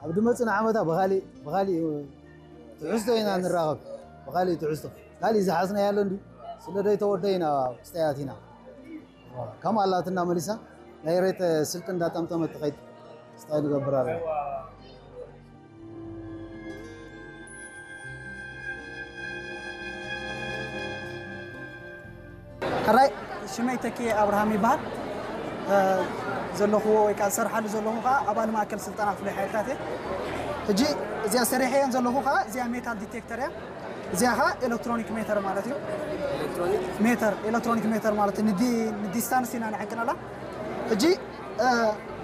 ኣብ ድመፅና ዓመታ ብኻሊእ ብኻሊእ ትሕዝቶ ኢና ንራኸብ። ብኻሊእ ትሕዝቶ ካሊእ ዝሓዝናዮ ኣሎ እንዲ ስለ ደይተወደ ኢና ክስተያት ኢና። ከም ኣላትና መሊሳ ናይ ሬት ስልክ እንዳጠምጠመት ትኸይድ ስታይ ንገብር ኣለና። ሕራይ ሽመይ ተኪ ኣብርሃም ይበሃል። ዘለኹዎ ወይ ከዓ ዝሰርሓሉ ዘለኹ ከዓ ኣባል ማእከል ስልጠና ፍሉይ ሓይልታት እየ። ሕጂ እዚኣ ሰሪሐየን ዘለኹ ከዓ እዚኣ ሜታል ዲቴክተር እያ። እዚኣ ከዓ ኤሌክትሮኒክ ሜተር ማለት እዩ። ሜተር ኤሌክትሮኒክ ሜተር ማለት ንዲስታንስ ኢና ንዕቅነላ። ሕጂ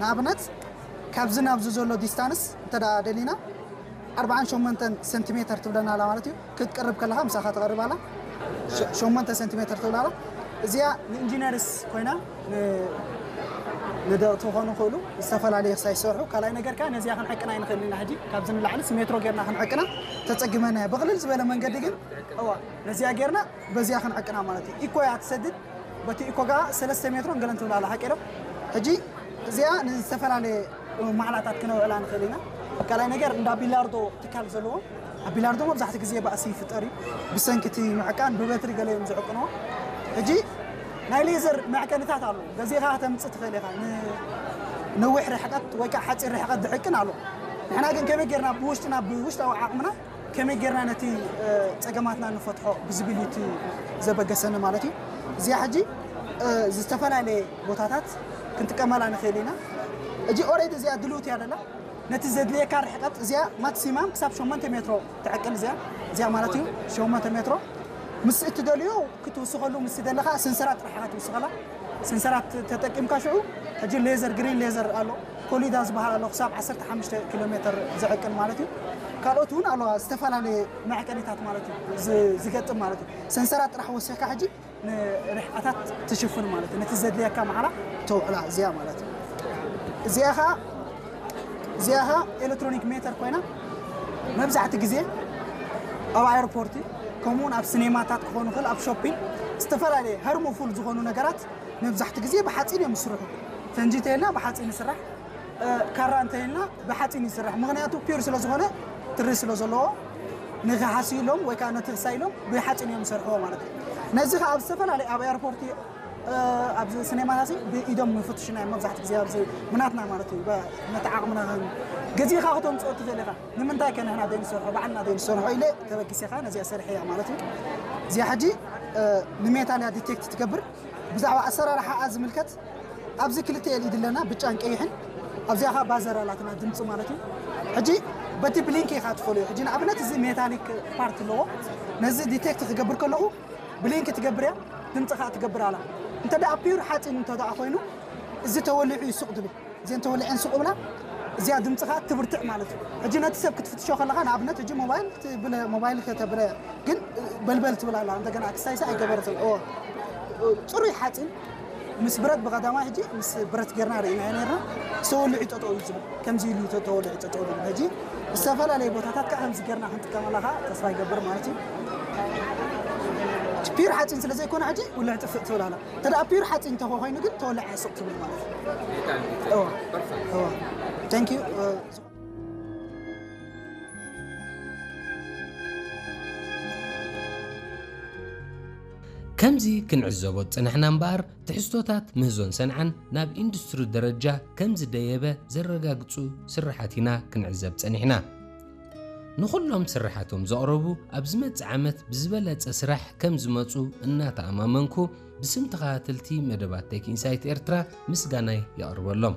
ንኣብነት ካብዚ ናብዚ ዘሎ ዲስታንስ እንተ ደሊና ኣርባዓን ሸሞንተን ሰንቲሜተር ትብለና ኣላ ማለት እዩ። ክትቀርብ ከለኻ ምሳኻ ትቐርብ ኣላ። ሸሞንተ ሰንቲሜተር ትብል ኣላ። እዚኣ ንኢንጂነርስ ኮይና ንደቕቲ ክኾኑ ክእሉ ዝተፈላለዩ ክሳይ ይሰርሑ። ካልኣይ ነገር ከ ነዚኣ ክንዕቅና ኣይንኽእል ኢና። ሕጂ ካብዚ ንላዕሊ ሜትሮ ጌርና ክንዕቅና ተፀግመና። ብቕልል ዝበለ መንገዲ ግን እዋ ነዚኣ ጌርና በዚኣ ክንዕቅና ማለት እዩ። ኢኮ እያ ትሰድድ። በቲ ኢኮ ጋር ሰለስተ ሜትሮን ገለን ትብል ኣላ። ሓቂ ዶ? ሕጂ እዚኣ ንዝተፈላለየ ማዕላታት ክነውዕላ ንኽእል ኢና። ካልኣይ ነገር እንዳ ቢላርዶ ትካል ዘለዎ ኣብ ቢላርዶ መብዛሕትኡ ግዜ ባእሲ ይፍጠር እዩ ብሰንኪ እቲ ምዕቃን ብበትሪ ገለ እዮም ዝዕቅንዎ። ሕጂ ናይ ሌዘር መዕቀኒታት ኣለዉ። ገዚእኻ ከተምፅእ ትኽእል ኢኻ። ንነዊሕ ርሕቀት ወይ ከዓ ሓፂር ርሕቀት ዝዕቅን ኣሎ። ንሕና ግን ከመይ ጌርና ብውሽጥና ብውሽጣዊ ዓቕምና ከመይ ጌርና ነቲ ፀገማትና ንፈትሖ ብዝብል እዩ እቲ ዘበገሰኒ ማለት እዩ። እዚኣ ሕጂ ዝተፈላለየ ቦታታት ክንጥቀመላ ንኽእል ኢና። ሕጂ ኦሬዲ እዚኣ ድልውት እያ ደላ። ነቲ ዘድልየካ ርሕቀት እዚኣ ማክሲማም ክሳብ ሸሞንተ ሜትሮ ትዕቅን እዚኣ እዚኣ ማለት እዩ። ሸሞንተ ሜትሮ ምስ እትደልዮ ክትውስኸሉ ምስ ደለኻ ስንሰራት ጥራሕ ኢኻ ትውስኸላ። ስንሰራት ተጠቂምካ ሽዑ ሕጂ ሌዘር ግሪን ሌዘር ኣሎ ኮሊዳ ዝበሃል ኣሎ ክሳብ ዓሰርተ ሓሙሽተ ኪሎ ሜትር ዝዕቅን ማለት እዩ። ካልኦት እውን ኣለዋ ዝተፈላለየ መዕቀኒታት ማለት እዩ ዝገጥም ማለት እዩ። ሰንሰራት ጥራሕ ወሲኽካ ሕጂ ንርሕቀታት ትሽፍን ማለት እዩ። ነቲ ዘድልየካ ማዕላ ተውዕላ እዚኣ ማለት እዩ። እዚኣ ኸዓ እዚኣ ኸዓ ኤሌክትሮኒክ ሜተር ኮይና መብዛሕቲ ግዜ ኣብ ኣየርፖርቲ ከምኡውን ኣብ ሲኔማታት ክኾኑ ይኽእል ኣብ ሾፒንግ ዝተፈላለየ ሃርሞፉል ዝኾኑ ነገራት መብዛሕቲ ግዜ ብሓፂን እዮም ዝስርሑ። ፈንጂ እንተይልና ብሓፂን ይስራሕ፣ ካራ እንተይልና ብሓፂን ይስራሕ። ምክንያቱ ፒር ስለዝኾነ ትሪ ስለዘለዎ ንክሓስይሎም ወይ ከዓ ነቲ ክሳይሎም ብሓፂን እዮም ዝሰርሕዎ ማለት እዩ። ነዚ ከዓ ኣብ ዝተፈላለዩ ኣብ ኤርፖርቲ ኣብዚ ሲኔማታት ብኢዶም ይፍትሹና እዮም መብዛሕቲ ግዜ ኣብዚ ምናትና ማለት እዩ። ነቲ ዓቕምና ገዚእኻ ክተምፅኦ ትኽእል ኢኻ። ንምንታይ ከ ንሕና ዘይንሰርሖ ባዕልና ዘይንሰርሖ ኢለ ተበጊሰ ከዓ ነዚኣ ሰሪሐ እያ ማለት እዩ። እዚኣ ሕጂ ንሜታል እያ ዲቴክት ትገብር። ብዛዕባ ኣሰራርሓኣ ዝምልከት ኣብዚ ክልተ ኤልኢዲ ኣለና፣ ብጫን ቀይሕን። ኣብዚኣ ከዓ ባዘር ኣላትና ድምፂ ማለት እዩ። ሕጂ በቲ ብሊንክ ኢኻ ትፈልዮ። ሕጂ ንኣብነት እዚ ሜታሊክ ፓርት ኣለዎ። ነዚ ዲቴክት ክገብር ከለኹ ብሊንክ ትገብር እያ፣ ድምፂ ከዓ ትገብር ኣላ። እንተ ደኣ ፒር ሓፂን እንተ ደኣ ኮይኑ እዚ ተወሊዑ እዩ ሱቕ ድብል። እዚአን ተወሊዐን ሱቕ ብላ እዚኣ ድምፂ ከዓ ትብርትዕ ማለት እዩ። ሕጂ ነቲ ሰብ ክትፍትሾ ከለኻ ንኣብነት ሕጂ ሞባይል ትብለ ሞባይል ከተብለ ግን በልበል ትብል ኣላ። እንደገና ክሳይሳ ኣይገበረትን። እዎ ፅሩይ ሓፂን ምስ ብረት ብቐዳማይ ሕጂ ምስ ብረት ጌርና ርኢና ነርና። ተወሊዑ ጠጠው እዩ ዝብል ከምዚ ኢሉ ተወሊዑ ጠጠው ዝብል ሕጂ ዝተፈላለዩ ቦታታት ከዓ ከምዚ ጌርና ክንጥቀመላ ከዓ ተስፋ ይገብር ማለት እዩ። ፒር ሓፂን ስለ ዘይኮነ ሕጂ ውልዕ ጥፍእ ትብል ኣላ። እንተ ደኣ ፒር ሓፂን እንተ ኮይኑ ግን ተወሊዓ ሱቕ ትብል ማለት እዩ። Thank you። ከምዚ ክንዕዘቦ ዝጸናሕና እምበኣር ትሕዝቶታት ምህዞን ሰንዓን ናብ ኢንዱስትሪ ደረጃ ከም ዝደየበ ዘረጋግጹ ስርሓት ኢና ክንዕዘብ ጸኒሕና። ንኹሎም ስርሓቶም ዘቕረቡ ኣብ ዝመጽእ ዓመት ብዝበለጸ ስራሕ ከም ዝመጹ እናተኣማመንኩ ብስም ተኸታተልቲ መደባት ቴክ ኢንሳይት ኤርትራ ምስጋናይ የቕርበሎም።